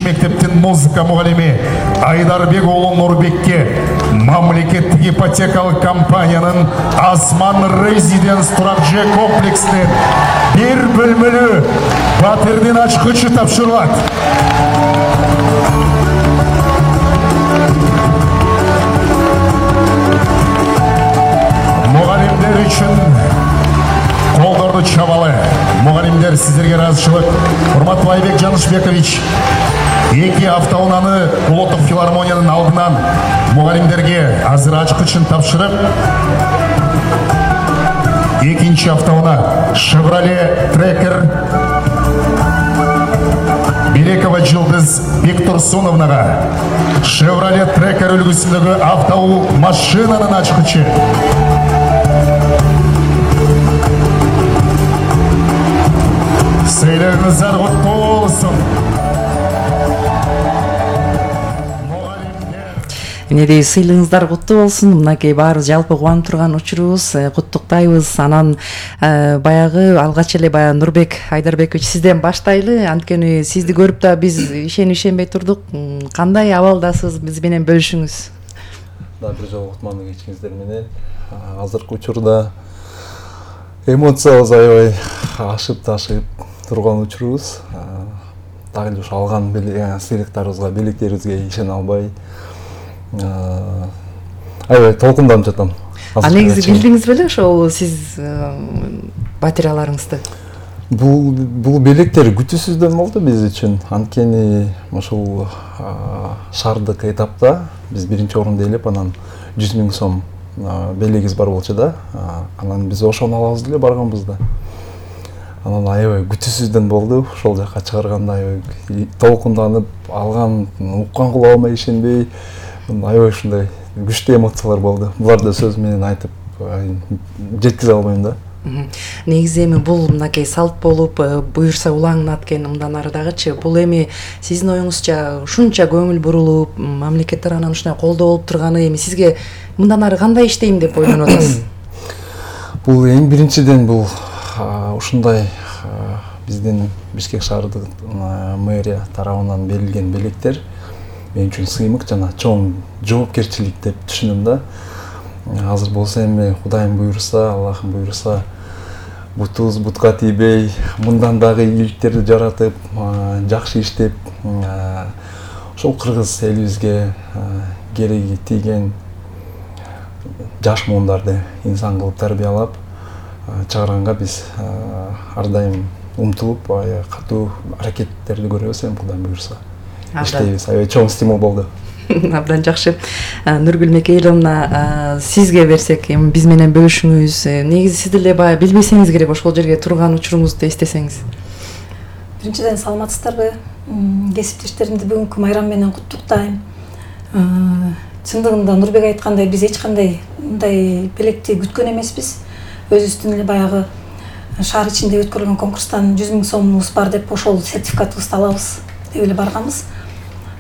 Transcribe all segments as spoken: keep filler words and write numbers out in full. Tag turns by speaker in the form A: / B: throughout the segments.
A: мектептин музыка мугалими Айдарбек уулу Нурбекке мамлекеттик ипотекалык компаниянын Асман Резиденс турак жай комплексинин бир бөлмөлүү батирдин ачкычы тапшырылат. Мугалимдер үчүн колдорду чабалы. Мугалимдер, сиздерге ыраазычылык. Урматтуу Айбек Жанышбекович эки автоунааны Улуттук филармониянын алдынан мугалимдерге азыр ачкычын тапшырып, экинчи автоунаа Chevrolet Tracker Белекова Жылдыз Бектурсуновнага Chevrolet Tracker үлгүсүндөгү автоу машинанын ачкычы. Сыйлыгыңыздар куттуу болсун.
B: Эмнедей сыйлыгыңыздар куттуу болсун. Мынакей баарыбыз жалпы кубанып турган учурубуз, куттуктайбыз. Анан баягы алгач эле баягы Нурбек Айдарбекович сизден баштайлы. Анткени сизди көрүп да биз ишенip ишенбей турдук. Кандай абалдасыз, биз менен бөлүшүңүз.
C: Да, бир жолу кутмандык ичиңиздер менен. Азыркы учурда эмоциябыз аябай ашып ташып турган учурубуз. Дагы эле ошо алган сыйлыктарыбызга, белектерибизге ишене албай аябай толкунданып жатам.
B: А негизи билдиңиз беле ошол сиз батираларыңызды?
C: Бул бул белектер күтүүсүздөн болду биз үчүн. Анткени ошол шаардык этапта биз биринчи орунда ээлеп, анан жүз миң сом белегибиз бар болчу да. Анан биз ошону алабыз деле барганбыз да. Анан аябай күтүүсүздөн болду. Ошол жака чыгарганда аябай толкунданып, алган уккан кулабыма ишенбей, аябай ушундай күчтүү эмоциялар болду. Буларды сөз менен айтып жеткизе албайм да.
B: Негизи эми бул мынакей салт болуп, буюрса улаңын аткен мындан ары дагычы, бул эми сиздин оюңузча ушунча көңүл бурулуп, мамлекет тарабынан ушундай колдоо болуп турганы эми сизге мындан ары кандай иштейм деп ойлонуп атасыз?
C: Бул эң биринчиден бул ушундай биздин Бишкек шаардык мэрия тарабынан берилген белектер мен үчүн сыймык жана чоң жоопкерчилик деп түшүнөм да. Азыр болсо эми Кудайым буйруса, Аллахым буйруса, бутубуз бутка тийбей, мындан дагы ийгиликтерди жаратып, жакшы иштеп, ошол кыргыз элибизге кереги тийген жаш муундарды инсан кылып тарбиялап чыгарганга биз ар дайым умтулуп, катуу аракеттерди көрөбүз, эми Кудайым буйруса. Иштейбиз. Аябай чоң стимул болду.
B: Абдан жакшы. Нургүл Мекейловна, сизге берсек, эми биз менен бөлүшүңүз. Негизи сиз деле баягы билбесеңиз керек ошол жерге турган учуруңузду эстесеңиз.
D: Биринчиден саламатсыздарбы? Кесиптештеримди бүгүнкү майрам менен куттуктайм. Чындыгында Нурбек айткандай, биз эч кандай мындай белекти күткөн эмеспиз. Өзүбүздүн эле баягы шаар ичинде өткөрүлгөн конкурстан жүз миң сомубуз бар деп ошол сертификатыбызды алабыз деп эле барганбыз.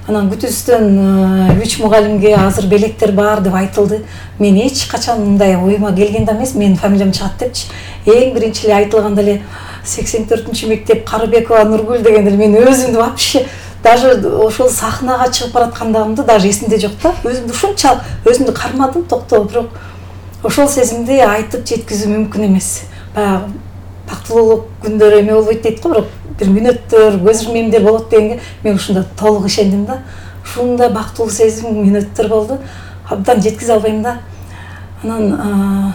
D: Анан күтүүсүздөн үч мугалимге азыр белектер бар деп айтылды. Мен эч качан мындай оюма келген да эмес, менин фамилиям чыгат депчи. Эң биринчи эле айтылганда эле сексен төртүнчү мектеп Карыбекова Нургүл дегенде мен өзүмдү вообще даже ошол сахнага чыгып бараткандыгымды даже эсимде жок да. Өзүмдү ушунчалык өзүмдү кармадым, токтоо, бирок ошол сезимди айтып жеткизүү мүмкүн эмес. Баягы бактылуулук күндөр эме болбойт дейт го, бирок бир мүнөттөр, көз ирмемдер болот дегенге мен ушунда толук ишендим да. Ушундай бактылуу сезим мүнөттөр болду. Абдан жеткизе албайм да. Анан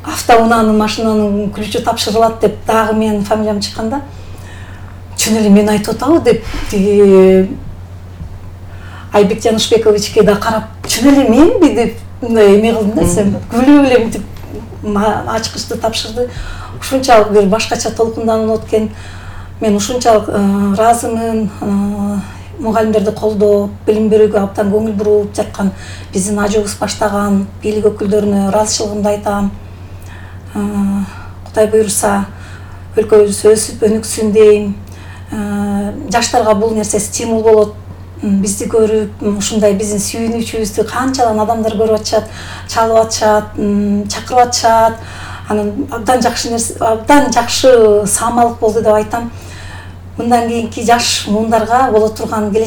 D: автоунаанын машинанын ключу тапшырылат деп дагы менин фамилиям чыкканда чын эле мен айтып атабы деп тиги Айбек Жанышбековичке да карап чын эле менби деп мындай эме кылдым да, сен күлүп эле мынтип ачкычты тапшырды. Ушунчалык бир башкача толкунданып откен. Мен ушунчалык ыраазымын. Мугалимдерди колдоп, билим берүүгө абдан көңүл буруп жаткан биздин ажыбыз баштаган бийлик өкүлдөрүнө ыраазычылыгымды айтам. Кудай буйруса өлкөбүз өсүп өнүксүн дейм. Жаштарга бул нерсе стимул болот. Бизди көрүп, ушундай биздин сүйүнүүчүбүздү канчадан адамдар көрүп атышат, чалып атышат, чакырып атышат. Анан абдан жакшы нерсе, абдан жакшы саамалык болду деп айтам. Мындан кийинки жаш муундарга боло турган